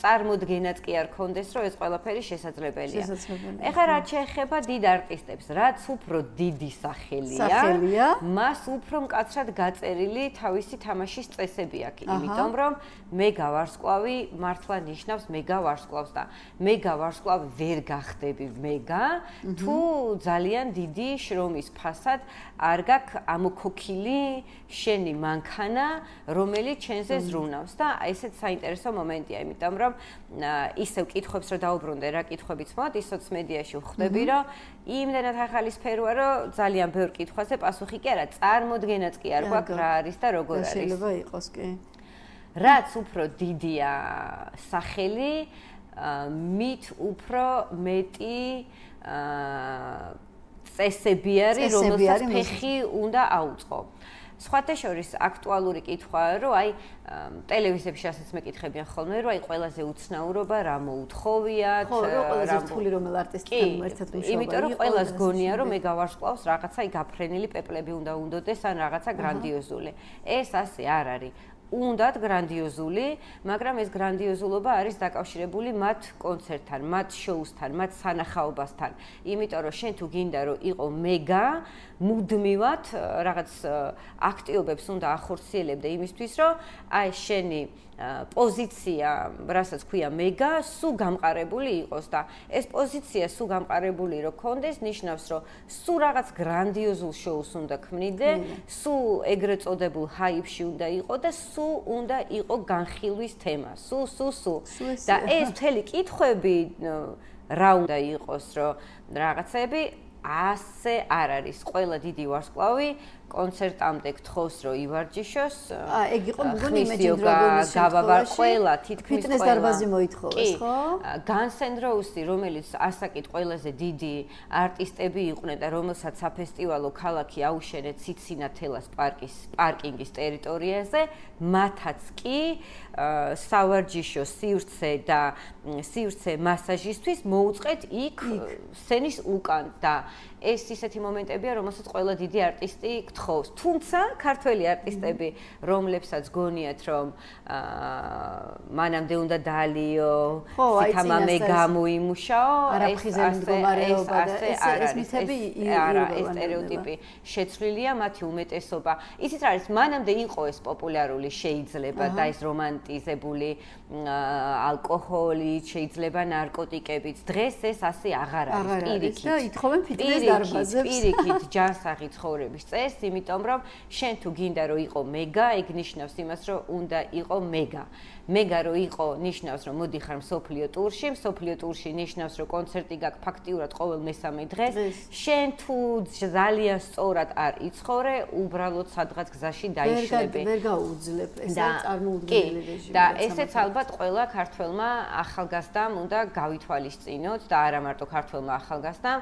წარმოდგენაც კი არ ქონდეს, რომ ეს ყველაფერი შესაძლებელია. ეხლა რაც შეეხება დიდ არტისტებს, რაც უფრო დიდი სახელია, მას უფრო მკაცრად გაწერილი თავისი თამაშის წესები აქვს, იმიტომ რომ მე გავარსკვლავი მართლა ნიშნავს მე გავარსკვლავს და მე გავარსკვლავი ვერ გახდები მეგა, თუ ძალიან დიდი შრომის ფასად არ გაქვს ამოქოქილი შენი მანქანა, რომელიც ჩვენზე ზრუნავს და ესეც საინტერესო მომენტია, იმიტომ რომ ისევ კითხვებს რომ დაუბრუნდე, რა კითხვებიც მოდ, ის სოციმედიაში ვხვდები, რომ იმდენად ახალი სფეროა, რომ ძალიან ბევრ კითხვაზე პასუხი კი არა, წარმოდგენაც კი არ გვაქვს რა არის და როგორ არის. შეიძლება იყოს კი. რაც უფრო დიდია სახელი, მით უფრო მეტი წესები არის, რომელსაც ფეხი უნდა აუწყო. სხვათა შორის აქტუალური კითხვაა, რომ აი ტელევიზიებში ასაც მეკითხებიან ხოლმე, რომ აი ყველაზე უცნაურობა რა მოუთხოვიათ, ხო, რომ ყველაზე რთული რომელ არტისტთან ერთად მუშაობა. იმიტომ რომ ყველას გონია, რომ მე გავარსკვლავს რაღაცა გაფრენილი პეპლები უნდა უნდოდეს ან რაღაცა გრანდიოზული. ეს ასე არ არის. უნდათ გრანდიოზული, მაგრამ ეს გრანდიოზულობა არის დაკავშირებული მათ კონცერტთან, მათ შოუსთან, მათ სანახაობასთან. იმიტომ რომ შენ თუ გინდა რომ იყო მეგა, მუდმივად რაღაც აქტიობებს უნდა ახორციელებდე იმისთვის, რომ აი შენი პოზიცია, რასაც ქვია მეგა, სულ გამყარებული იყოს და ეს პოზიცია სულ გამყარებული რო კონდეს, ნიშნავს, რომ სულ რაღაც გრანდიოზულ შოუს უნდა ქმნიდე, სულ ეგრეთ წოდებულ ჰაიპში უნდა იყო და სულ უნდა იყო განხილვის თემა. სულ. და ეს მთელი კითხვები რა უნდა იყოს, რომ რაღაცები ასე არ არის. ყველა დიდი ვარსკვლავი კონცერტამდე გთხოვს, რომ ივარჯიშოს. ეგ იყო მგონი Imagine Dragons-ის გავაბარ ყველა, თითქმის ფიტნეს დარბაზი მოითხოვეს, ხო? Guns N' Roses, რომელიც ასაკით ყველაზე დიდი არტისტები იყვნენ და რომელსაც საფესტივალო ქალაქი აუშენეთ ციცინათელას პარკინგის ტერიტორიაზე, მათაც კი სავარჯიშო სივრცე და სივრცე მასაჟისთვის მოუწყეთ იქ სცენის უკან და ეს ისეთი მომენტებია, რომელსაც ყველა დიდი არტისტი გთხოვს. თუმცა ქართველი არტისტები, რომლებსაც გონიათ, რომ მანამდე უნდა დაალიო, თამამე გამოიმუშაო, ეს ეს მითები არა, ეს სტერეოტიპი შეცვლილია მათი უმეტესობა. იცით რა არის, მანამდე იყო ეს პოპულარული შეიძლება და ეს რომანტიზებული ალკოჰოლი, შეიძლება ნარკოტიკებიც. დღეს ეს ასე აღარ არის, პირიქით. და ითხოვენ ფიტნეს დარბაზებს. პირიქით ჯანსაღი ცხოვრების წესს, იმიტომ რომ შენ თუ გინდა რომ იყო მეგა, ეგ ნიშნავს იმას, რომ უნდა იყო მეგა. მეგა რო იყო, ნიშნავს რომ მოდიხარ მსოფლიო ტურში, მსოფლიო ტურში ნიშნავს რომ კონცერტი გაქვს ფაქტიურად ყოველ მესამე დღეს. შენ თუ ძალიან სწორად არ იცხოვრე, უბრალოდ სადღაც გზაში დაიშლები. ვერ გაუძლებ, ეს არის წარმოუდგენელი რეჟიმი. და ესეც ალბათ ყველა ქართველმა ახალგაზრდამ უნდა გავითვალისწინოთ და არა მარტო ქართველმა ახალგაზრდამ.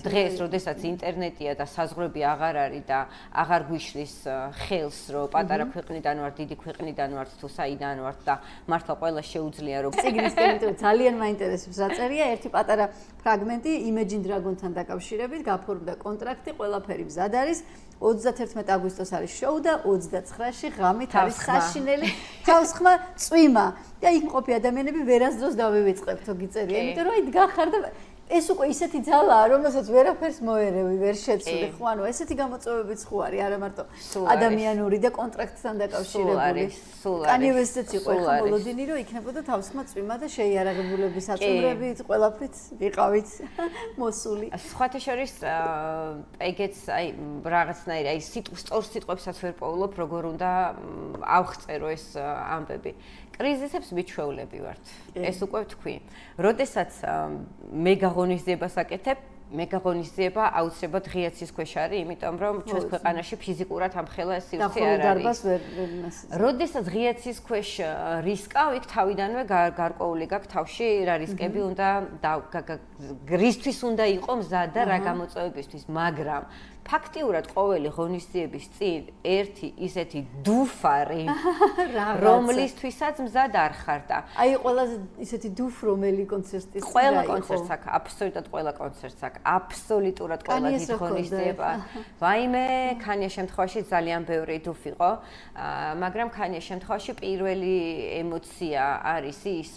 დღეს, როდესაც ინტერნეტია და საზღვრები აღარ არის და აღარ გვიშლის ხელს, რომ პატარა ქვეყნიდან ვართ, დიდი ქვეყნიდან ვართ თუ საიდან ვართ და მართლა ყველა შეუძლია რომ ციგნის ტემპერატურა ძალიან მაინტერესებს რა წერია ერთი პატარა ფრაგმენტი Imagine Dragon-თან დაკავშირებით გაფორმდა კონტრაქტი ყველაფერი მზად არის 31 აგვისტოს არის შოუ და 29-ში ღამით არის საშინელი თავსხმა წვიმა და იქ მყოფი ადამიანები ვერასდროს დავივიწყებთო გიწერია იმიტომ რომ აი დგახარ და ეს უკვე ისეთი ძალაა, რომელსაც ვერაფერს მოერევი, ვერ შეცვლი, ხო, ანუ ესეთი გამოწვევებიც ხო არის, არა მარტო ადამიანური და კონტრაქტთან დაკავშირებული. Kanye West-იც იყო ხო მოლოდინი, რომ იქნებოდა თავსხმა წვიმა და შეიარაღებულების აწმრებით, ყველაფრით ვიყავით მოსული. სხვათა შორის ეგეც აი რაღაცნაირი აი სწორ სიტყვებსაც ვერ პოულობ, როგორ უნდა ავხწერო ეს ამბები. კრიზისებს მიჩვეულები ვართ. ეს უკვე ვთქვი. როდესაც მე ღონისძიებას აკეთებ, მე ღონისძიება აუცილებლად ღია ცის ქვეშ არის, იმიტომ რომ ჩვენს ქვეყანაში ფიზიკურად ამხელა სივრცე არ არის. როდესაც ღია ცის ქვეშ რისკავ, იქ თავიდანვე გარკვეული გაქვს თავში რა რისკები უნდა რისთვის უნდა იყო მზად და რა გამოწვევებისთვის, მაგრამ ფაქტიურად ყოველი ღონისძიების წინ ერთი ისეთი დუფარი რომლისთვისაც მზად არ ხარ და აი ყველაზე ისეთი დუფ რომელი კონცერტის ყველა კონცერტს აქვს აბსოლუტურად ყველა კონცერტს აქვს აბსოლუტურად ყველა დიდ ღონისძიება ვაიმე ქანიეს შემთხვევაში ძალიან ბევრი დუფ იყო მაგრამ ქანიეს შემთხვევაში პირველი ემოცია არის ის